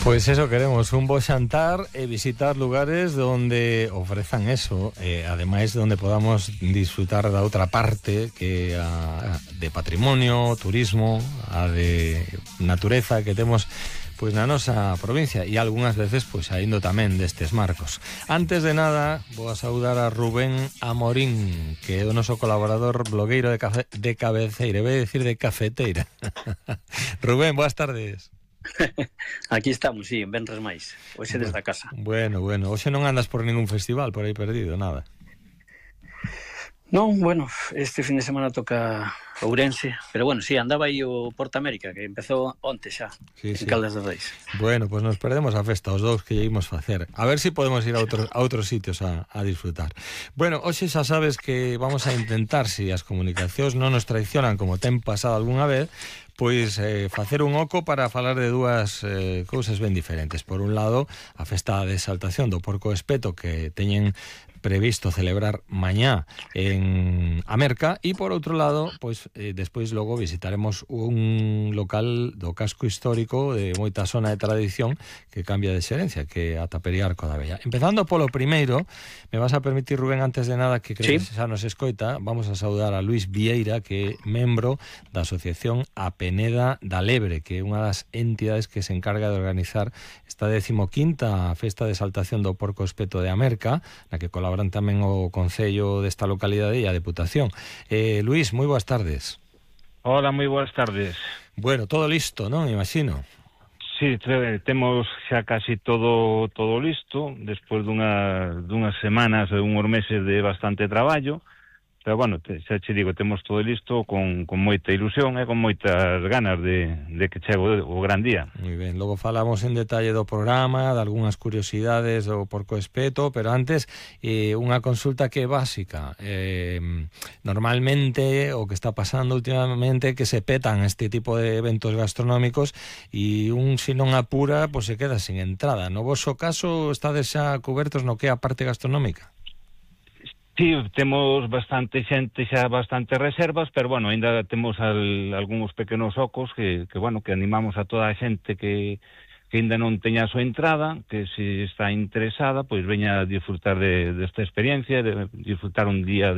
Pois eso queremos, un bo xantar e visitar lugares donde ofrezan eso, ademais donde podamos disfrutar da outra parte que a de patrimonio, turismo, a de natureza que temos pois na nosa provincia e algunhas veces pois saindo tamén destes marcos. Antes de nada, vou a saudar a Rubén Amorín, que é o noso colaborador blogueiro de cabeceira, vou decir de cafeteira. Rubén, boas tardes. Aquí estamos, sí, en Venres máis. Hoxe desde a casa. Bueno, hoxe non andas por ningún festival por aí perdido, nada. Non, bueno, este fin de semana toca Ourense, pero bueno, sí, andaba aí o Porta América, que empezou onte xa, en Caldas de Reis. Bueno, pues nos perdemos a festa, os dous que lle imos facer. A ver si podemos ir a outros sitios a disfrutar. Bueno, hoxe xa sabes que vamos a intentar, si as comunicacións non nos traicionan como ten pasado algunha vez, pois facer un oco para falar de dúas cousas ben diferentes. Por un lado, a festa de exaltación do Porco Espeto que teñen previsto celebrar mañá en Amerca e por outro lado, pois despois logo visitaremos un local do casco histórico de moita zona de tradición que cambia de xerencia, que é a Tapería Arco da Vella. Empezando polo primeiro, me vas a permitir, Rubén, antes de nada, que creo que xa nos escoita, vamos a saudar a Luis Vieira, que é membro da Asociación A Peneda da Lebre, que é unha das entidades que se encarga de organizar esta 15ª festa de exaltación do Porco Espeto de Amerca, na que colaboran tamén o Concello desta localidade e a Deputación. Luís, moi boas tardes. Hola, moi boas tardes. Bueno, todo listo, non? Imagino. Sí, temos xa casi todo listo, despois dunhas semanas ou uns meses de bastante traballo, pero bueno, xa che digo, temos todo listo con moita ilusión e con moitas ganas de que chegue o gran día. Moi ben, logo falamos en detalle do programa, de algunhas curiosidades do Porco Espeto, pero antes unha consulta que é básica. Normalmente o que está pasando últimamente é que se petan este tipo de eventos gastronómicos e se non apura, pois se queda sin entrada. No voso caso, estades xa cubertos no que é a parte gastronómica? Sí, temos bastante xente, xa bastante reservas, pero bueno, ainda temos algúns pequenos ocos que animamos a toda a xente que ainda non teña a súa entrada, que se está interesada, pois veña a disfrutar desta experiencia, de disfrutar un día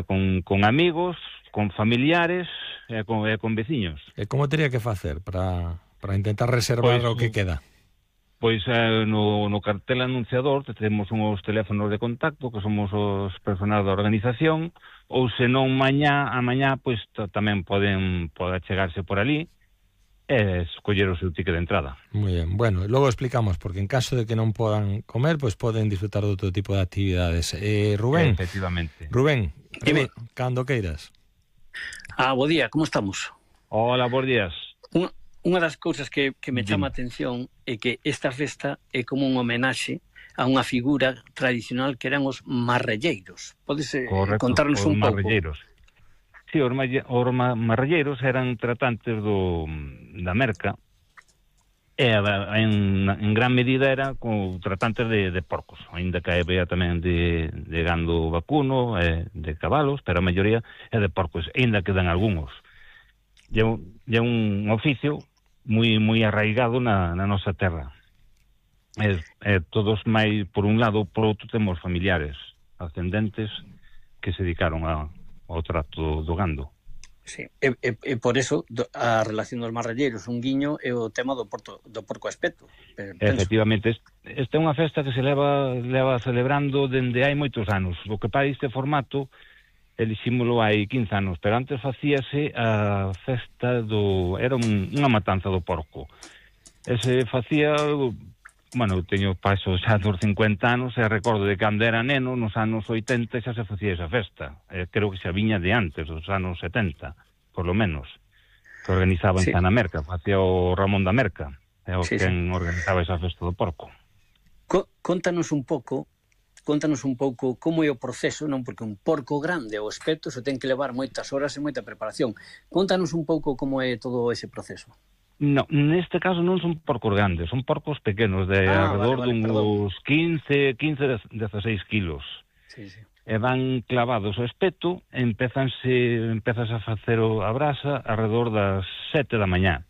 con amigos, con familiares e con veciños. E como teria que facer para intentar reservar o que queda? Pois no cartel anunciador temos uns teléfonos de contacto que somos os personal da organización, ou senón a mañá pois tamén poden chegarse por ali e escoller o seu ticket de entrada. Moi ben, bueno, logo explicamos, porque en caso de que non podan comer, pois poden disfrutar de outro tipo de actividades. Rubén, efectivamente. Rubén, cando queiras. Bo día, como estamos? Hola, bons días. Unha das cousas que me chama a atención é que esta festa é como un homenaxe a unha figura tradicional que eran os marrelleiros. Podes contarnos un pouco? Marrelleiros. Sí, os marrelleiros eran tratantes da Merca e en gran medida era como tratantes de porcos, ainda que había tamén de gando vacuno, de cabalos, pero a maioría é de porcos, ainda quedan algúns. É un oficio moi arraigado na nosa terra. Todos máis, por un lado, por outro temos familiares ascendentes que se dedicaron ao trato do gando. Sí, e por eso a relación dos marrelleiros, un guiño, é o tema do Porco Espeto. Efectivamente, esta é unha festa que se leva celebrando dende hai moitos anos. O que para este formato elixímolo hai 15 anos, pero antes facíase a festa era unha matanza do porco. Se facía, bueno, teño paso xa dos 50 anos e recordo de cando era neno, nos anos 80 xa se facía esa festa. Creo que xa viña de antes, dos anos 70, por lo menos, que organizaban xa na Merca, facía o Ramón da Merca, quen organizaba esa festa do porco. Contanos un pouco como é o proceso, non? Porque un porco grande ou espeto se ten que levar moitas horas e moita preparación. Contanos un pouco como é todo ese proceso. No, neste caso non son porcos grandes, son porcos pequenos, de alrededor duns 15, 16 kilos. Sí. E van clavados ao espeto, empezas a facer a brasa alrededor das 7 da mañá.